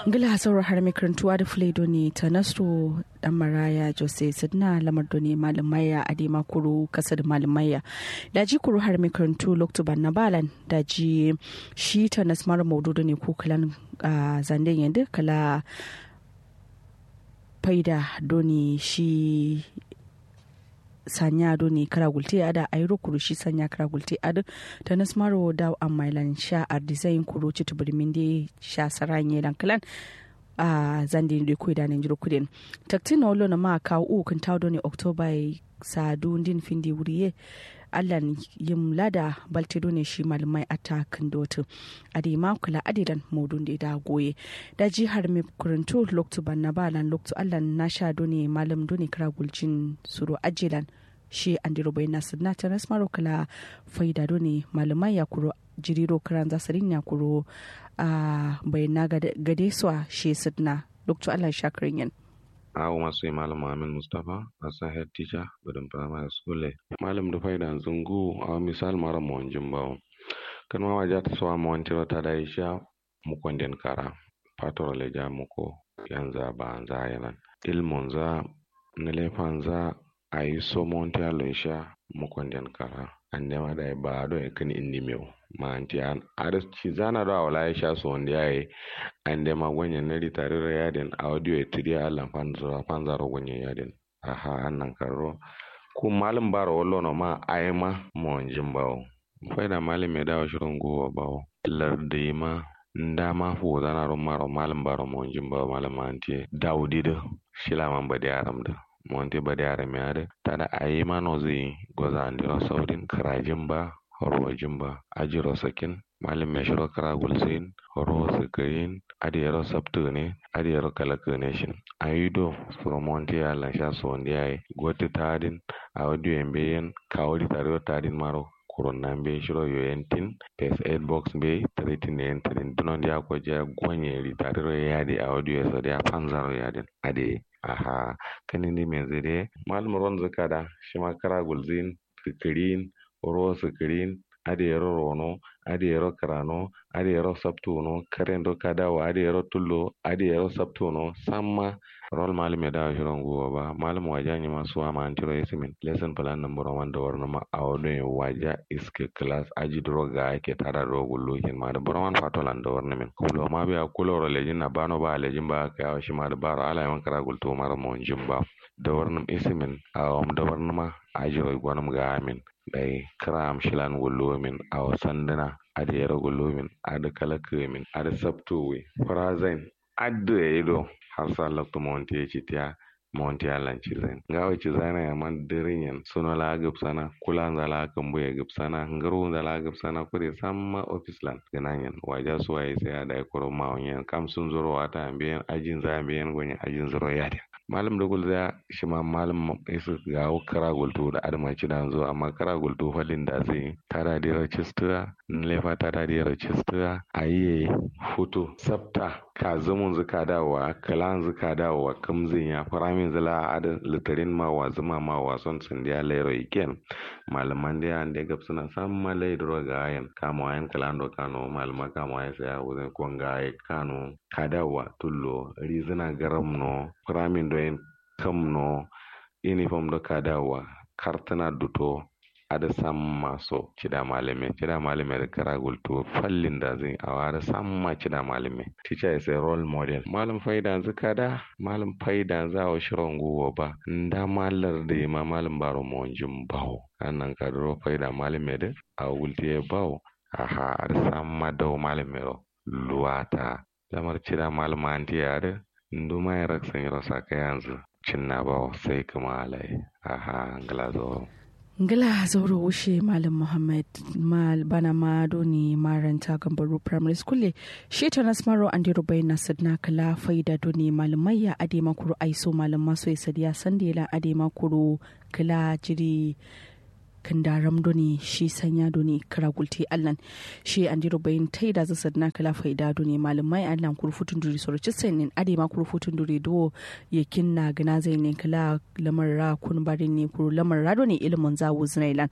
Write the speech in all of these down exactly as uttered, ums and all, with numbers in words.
Ngla sauro har mai karantu adǝ fǝlai done tanasro dan maraya jose sǝdǝna lamar done malǝmaiya adai ma kuru kasad malǝmaiya. Daji kuru har mai karantu loktu banna balan daji shi tanas maro maudu done ku kǝlan zande yende kala faida done shi sanya done kǝra gulte adǝ airo kuru shi sanya kǝra gulte adǝ tanas maro dawo amma ilan sha ardizain kuru citǝ bǝrmin de sha saran ye lan kǝlan. A zande de koi da nanjiro kuden taktin na wallo na ma kawo u kǝntawo done oktoba ye sadu ndin findi wuri ye allan yim lada balte done shi malmai atta kǝndotǝ. Adai ma kǝla adai lan modun de da goye daji har mai karantu loktu banna balan loktu allan nasha done malam done kǝra guljin suro ajilan. Shi andiro baina sǝdǝna tanas maro kǝla faida done malmai ya kuro jiriro kǝranza sǝrin ya kuro a baina gade soa shi sǝdǝna loktu allan sha kǝrin yen. Awo masu yi malam muhammed mustapha asan head teacher badǝn primary school ye. Malam dǝ faida nzǝngu awo misal maro monjin bawo. Kǝnma waja tǝ soa montiro tada isha mukonden kara fatoro leja muko yanza banza yenan ilmunza nǝlefanza ayi so monti allo isha mukonden kara. Andema dai ba do e kǝn indi mewu manti an adǝ cizana do awala isha so ndi yaye. Andema gonyen nadi tariro yaden audio e tǝdiya allan fanzaro gonyen yaden. Aha annan karro ku malum baro wallo no ma ayi ma monjin bawo. Faida malum ye dawo shiro nguwo bawo lardǝ yima ndama fuwuzana ro maro malum baro monjin bawo malum manti ye daudi dǝ. Shila man bade aram dǝ monti bade aram ye adǝ tada ayi ma nozi goza andiro saudin kǝrajin ba rojin ba ajiro sakin. Malum ye shiro kǝra gulsin ro sǝkǝrin adǝ yero sabtǝ gǝne adǝ yero kalakǝ gǝne shin. Ayi do suro monti ye allan sha sondi yaye gotǝ tadin. Awo diyo ye mbeyen kawo di tadiro tadin maro kurunna mbeyi shiro yoyen tin pes eight box mbeyi tǝritin yen tǝrin duno ndiya kojja gonye di tadiro yadi awo diyo ye sadiya fanzaro yadin. Adǝ ye aha kǝni ndi menzi dǝ ye malum ronzǝ kada shima kǝra gulzin kǝkǝrin ro sǝkǝrin adǝ yero rono adǝ yero kǝrano adǝ yero sabtuno karendo kadawo adǝ yero tullo adǝ yero sabtuno samma. Rol malum ye dawo shiro nguwo ba malum waja nyima suwa ma antiro isimin lesson plan nǝmburo man dawarnǝma awo done waja iske class aji duro ga ake tada duro gullukin ma dǝ buro man fatolan dawarnǝmin kulo ma biya kuloro lejin na bano ba lejin ba aka yawo shima dǝ baro ala yiman kǝra gultu maro monjin ba. Dawarnǝm isimin awom dawarnǝma ajiro gonǝm ga amin. Dai kǝra am shilan gullumin awo sandǝna adǝ yero gullumin adǝ kalakǝmin adǝ sabtuwi fǝrazain adǝ ye do har sa loktu monti ye citiya. Monti allan cizain ngawo cizaina yaman dǝrin yen suno la gǝbsana kulanza la kǝmbu ye gǝbsana ngǝrunza la gǝbsana kure samma ofis lan gǝnan yen waja suwa ye sai adai kuro mawon yen kam sunzuro wata mbeyen ajinza mbeyen gonye ajinzuro yadin. Malum dǝ gulza shima malum isǝ gawo kǝra gultu da adǝma cidanzu amma kǝra gultu falin da zǝ tada diro cistǝ a nǝlefa tada diro cistǝ a ayi ye futu sabta kazumunzǝ kadawowa kǝlanzǝ kadawowa kǝmzǝ nya fǝraminzǝ la adǝ lǝtǝrin mawa zǝma mawa son sǝndiya lairo yiken. Malum man diya ande gabsǝna samma lai duro gayen kamowa yen kǝlando kano malum ma kamowa ye sai awuzǝn konga ye kano kadawowa tullo rizǝna garamno fǝramin doyin kǝmno inifom do kadawowa kartǝna duto. Adǝ samma so cida malume cida malume dǝ kǝra gultu fallin dazǝn awo adǝ samma cida malume. Teacher is a role model malum faidanzǝ kada malum faidanzǝ awo shiro nguwo ba. Ndama lardǝ yima malum baro monjin bawo annan kaduro faida malume dǝ awo gultu ye bawo. Aha adǝ samma dau malume ro luwata. Lamar cida malum anti ye adǝ nduma ye raksa nyiro sakayanzǝ cinna bawo sai kǝma alaye. Aha ngla zauro. Ngla zauro wushe malum muhammad. Bana ma done maranta gambaru primary school ye shi tanas maro andero baina sǝdna kǝla faida done malum maiya adai ma kuru aiso malum maso ye sadiya sande lan adai ma kuru kǝla jiri kǝndaram done shi sanya done kǝra gulte allan. Shi andiro bayin taida zǝ sadǝna kǝla faida done malǝmma ye allan kuru futun duri soro cǝssain nin adai ma kuru futun duri duwo yakin na gǝna zain nin kǝla lamar ra kun barin ne kuru lamar ra done ilimin za wuzǝna ilan.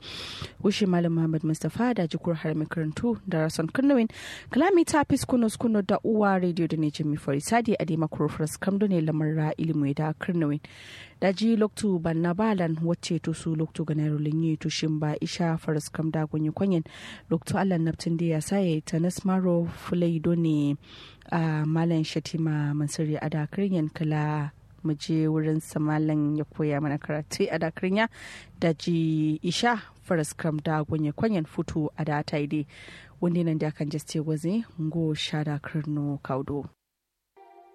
Wushi malam muhammad mustapha daji kuru harami kǝrantu darason kǝrnuwin. Kǝla mita fis kuno skuno da uwa radio done jami fari sadi adai ma kuru faras kam done lamar ra ilimin da kǝrnuwin. Daji loktu banna balan wacce tusu loktu ganairo linyi tushin ba isha faras kam da gonye konyen. Loktu allan naftin da ya saye tanis maro fulai done a malan shatima mansuri ada kǝrinyen kala muje wurin samalan ya koya mana karatu ada kǝrinya. Daji isha faras kam da gonye konyen futu ada taide. Wunde nan da kan jaste gwazi ngo shada kǝrno kaudo.